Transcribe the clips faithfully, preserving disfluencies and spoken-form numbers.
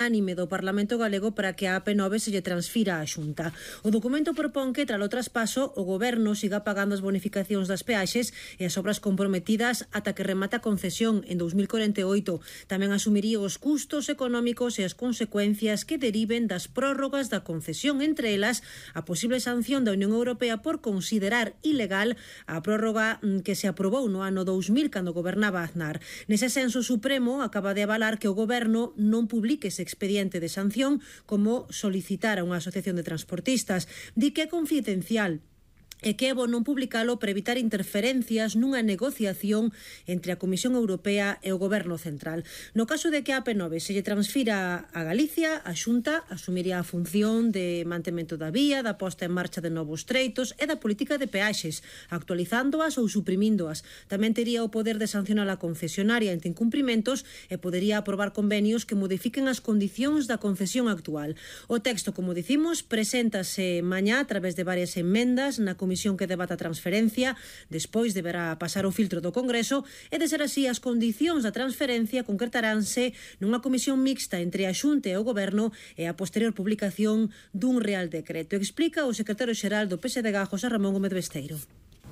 unánime do Parlamento galego para que a A P nove se lle transfira á Xunta. O documento propón que, tralo traspaso, o Goberno siga pagando as bonificacións das peaxes e as obras comprometidas ata que remata a concesión en dous mil corenta e oito. Tamén asumiría os custos económicos e as consecuencias que deriven das prórrogas da concesión, entre elas a posible sanción da Unión Europea por considerar ilegal a prórroga que se aprobou no ano dous mil cando gobernaba Aznar. Nese senso, o Supremo acaba de avalar que o Goberno non publique ese expediente de sanción como solicitar a unha asociación de transportistas. Di que é confidencial e que é bo non publicalo para evitar interferencias nunha negociación entre a Comisión Europea e o Goberno Central. No caso de que a A P nove se lle transfira a Galicia, a Xunta asumiría a función de mantemento da vía, da posta en marcha de novos treitos e da política de peaxes, actualizándoas ou suprimíndoas. Tamén tería o poder de sancionar a concesionaria entre incumprimentos e podería aprobar convenios que modifiquen as condicións da concesión actual. O texto, como dicimos, preséntase mañá a través de varias enmendas na Comisión comisión que debata a transferencia, despois deberá pasar o filtro do Congreso e, de ser así, as condicións da transferencia concretaránse nunha comisión mixta entre a Xunta e o Goberno e a posterior publicación dun Real Decreto. Explica o secretario xeral do P S D G, José Ramón Gómez Besteiro.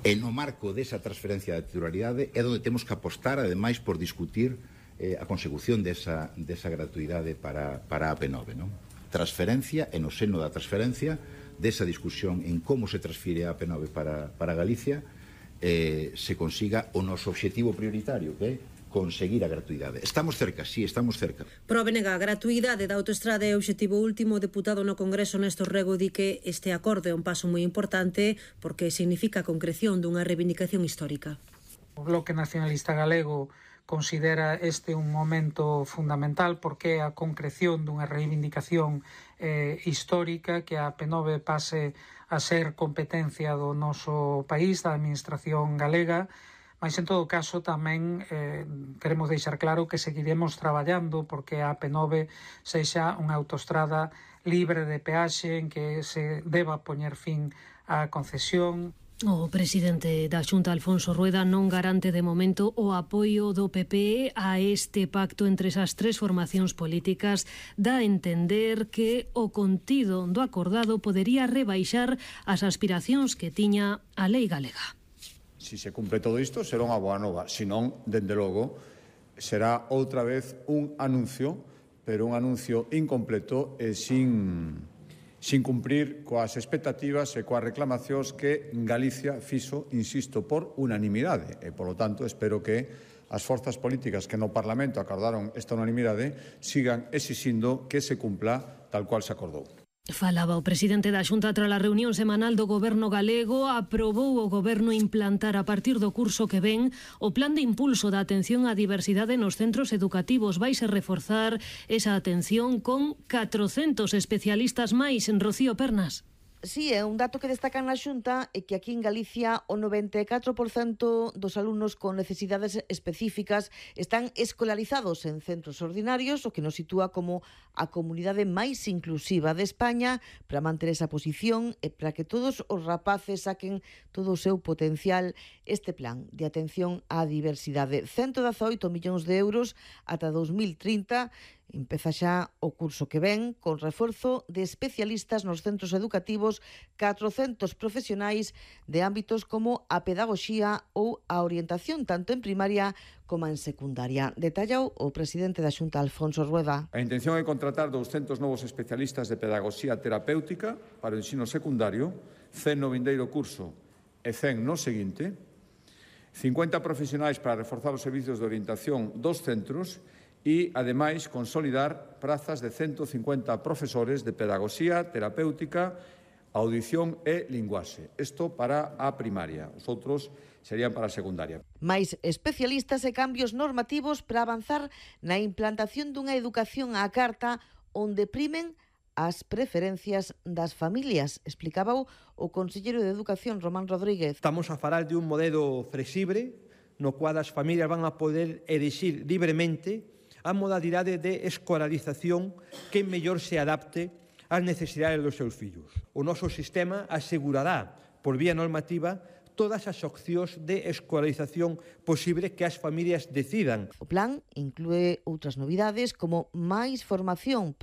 E no marco desa transferencia da titularidade é onde temos que apostar, ademais, por discutir eh, a consecución desa, desa gratuidade para, para a A P nove, non? Transferencia, e no seno da transferencia, desa discusión en como se transfire a A P nove para, para Galicia, eh, se consiga o noso obxectivo prioritario, que é conseguir a gratuidade. Estamos cerca, sí, estamos cerca. Prove nega a gratuidade da autoestrada é o obxectivo último. O deputado no Congreso, Néstor Rego, di que este acordo é un paso moi importante porque significa a concreción dunha reivindicación histórica. O Bloque Nacionalista Galego considera este un momento fundamental porque a concreción dunha reivindicación eh, histórica, que a A P nove pase a ser competencia do noso país, da administración galega, mas en todo caso tamén eh, queremos deixar claro que seguiremos traballando porque a A P nove sexa unha autoestrada libre de peaxe en que se deba poñer fin á concesión. O presidente da Xunta, Alfonso Rueda, non garante de momento o apoio do P P a este pacto entre esas tres formacións políticas. Dá a entender que o contido do acordado podería rebaixar as aspiracións que tiña a lei galega. Si se cumpre todo isto, será unha boa nova. Si non, dende logo, será outra vez un anuncio, pero un anuncio incompleto e sin... sin cumprir coas expectativas e coas reclamacións que Galicia fixo, insisto, por unanimidade. E, polo tanto, espero que as forzas políticas que no Parlamento acordaron esta unanimidade sigan exixindo que se cumpla tal cual se acordou. Falaba o presidente da Xunta tras a reunión semanal do Goberno galego. Aprobou o Goberno implantar a partir do curso que ven o plan de impulso da atención á diversidade nos centros educativos. Vaise reforzar esa atención con catrocentos especialistas máis. En Rocío Pernas. Sí, é un dato que destacan na Xunta é que aquí en Galicia o noventa e catro por cento dos alumnos con necesidades específicas están escolarizados en centros ordinarios, o que nos sitúa como a comunidade máis inclusiva de España. Para manter esa posición e para que todos os rapaces saquen todo o seu potencial, este plan de atención á diversidade, ciento dezaoito millóns de euros ata dous mil trinta, empeza xa o curso que ven con reforzo de especialistas nos centros educativos, catrocentos profesionais de ámbitos como a pedagogía ou a orientación, tanto en primaria como en secundaria. Detallau o presidente da Xunta, Alfonso Rueda. A intención é contratar douscentos novos especialistas de pedagogía terapéutica para o ensino secundario, cen no vindeiro curso e cen no seguinte, cincuenta profesionais para reforzar os servizos de orientación dos centros e, ademais, consolidar prazas de ciento cincuenta profesores de pedagogía, terapéutica, audición e linguaxe. Isto para a primaria. Os outros serían para a secundaria. Mais especialistas e cambios normativos para avanzar na implantación dunha educación á carta onde primen as preferencias das familias, explicaba o conselleiro de Educación, Román Rodríguez. Estamos a falar de un modelo flexible no cual as familias van a poder elixir libremente a modalidade de escolarización que mellor se adapte ás necesidades dos seus fillos. O noso sistema asegurará, por vía normativa, todas as opcións de escolarización posible que as familias decidan. O plan inclúe outras novidades como máis formación